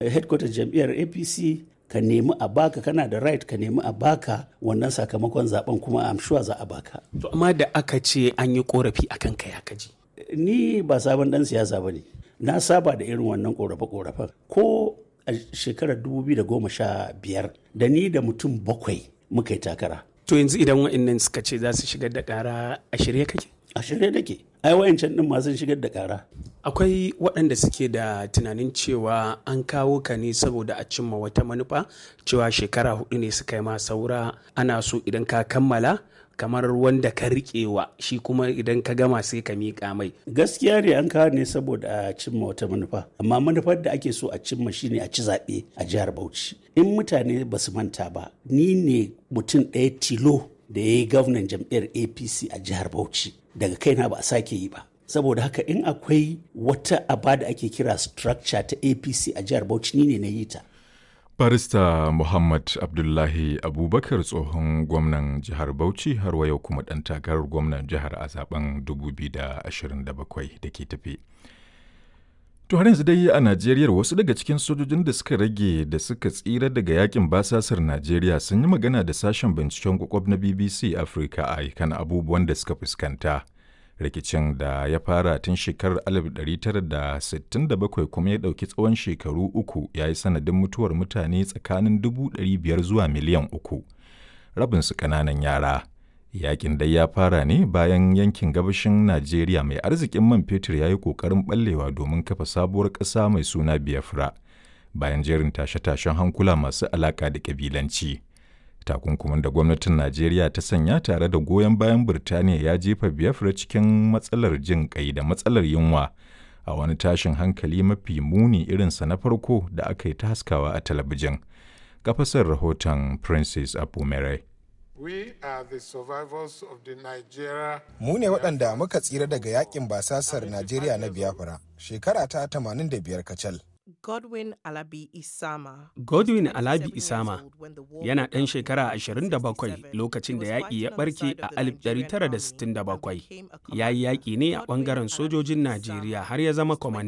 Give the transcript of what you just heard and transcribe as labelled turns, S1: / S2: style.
S1: Headquarter jam'iyyar APC ka nemi a baka, kana da right ka nemi a baka wannan sakamakon zaben, kuma I'm sure za a baka.
S2: To amma da aka ce an yi korafi akan kai aka ji.
S1: Ni ba sabon dan siyasa ba ne. Na saba da irin wannan korafe-korafen. Ko a shekarar 2015 da ni da mutum bakwai muka yi takara.
S2: To yanzu idan wa'annan suka ce za su shigar da ƙara, a shirye kake?
S1: A shirye nake. Ai wayancan din ma sun shigar da ƙara.
S2: Akwai waɗanda suke da tunanin cewa an kawo ka ne saboda a cimma wata manufa, cewa shekara 4 ne suka yi ma saura, ana so idan ka kammala kamar wanda ka riƙewa shi kuma idan ka gama sai ka miƙa mai.
S1: Gaskiya ne, an kawo ne saboda a cimma wata manufa, amma manufar da ake so a cimma shine a ci zaɓe a jihar Bauchi. In mutane ba su manta ba, ni ne mutum ɗaya tilo da ya yi gwamnan jam'iyyar APC a jihar Bauchi. Daga kaina ba a sake yi ba. Saboda haka in akwai wata aba da ake kira structure ta APC a jihar Bauchi, ni ne na yi ta.
S3: Barista Muhammad Abdullahi Abubakar, tsohon gwamnan jihar Bauchi, har wa yau kuma ɗan takarar gwamnan jihar a zaben 2027 da ke tafe. To har yanzu dai a Najeriya, wasu daga cikin sojojin da suka rage da suka tsira daga yakin basasar Najeriya sun yi magana da sashen binciken kwakwab na BBC Africa a kan abubuwan da suka fuskanta. Rikicin da ya fara tun shekarar 1967 kuma ya ɗauki tsawon shekaru 3 ya yi sanadin mutuwar mutane tsakanin 500,000 zuwa miliyan 3, rabinsu ƙananan yara. Yakin dai ya fara ne bayan yankin gabashin Najeriya mai arzikin man fetur ya yi ƙoƙarin ɓallewa domin kafa sabuwar ƙasa mai suna Biafra bayan jerin tashe-tashen hankula masu alaƙa da ƙabilanci. Takunkumin da gwamnatin Najeriya ta sanya tare da goyon bayan Birtaniya ya jefa Biafra cikin matsalar jin kai da matsalar yunwa a wani tashin hankali mafi muni irinsa na farko da aka yi ta haskawa a talabijin. Kafasar rahoton Princess Apumere.
S4: Mu ne waɗanda muka tsira daga yakin basasar Najeriya na Biafra, shekara ta 85 kacal.
S5: Godwin Alabi Isama.
S2: Godwin Alabi Isama yana ɗan shekara 27 lokacin da yaƙi ya ɓarke a 1967. Ya yi yaƙi ne a ɓangaren sojojin Najeriya har ya zama kwamanda.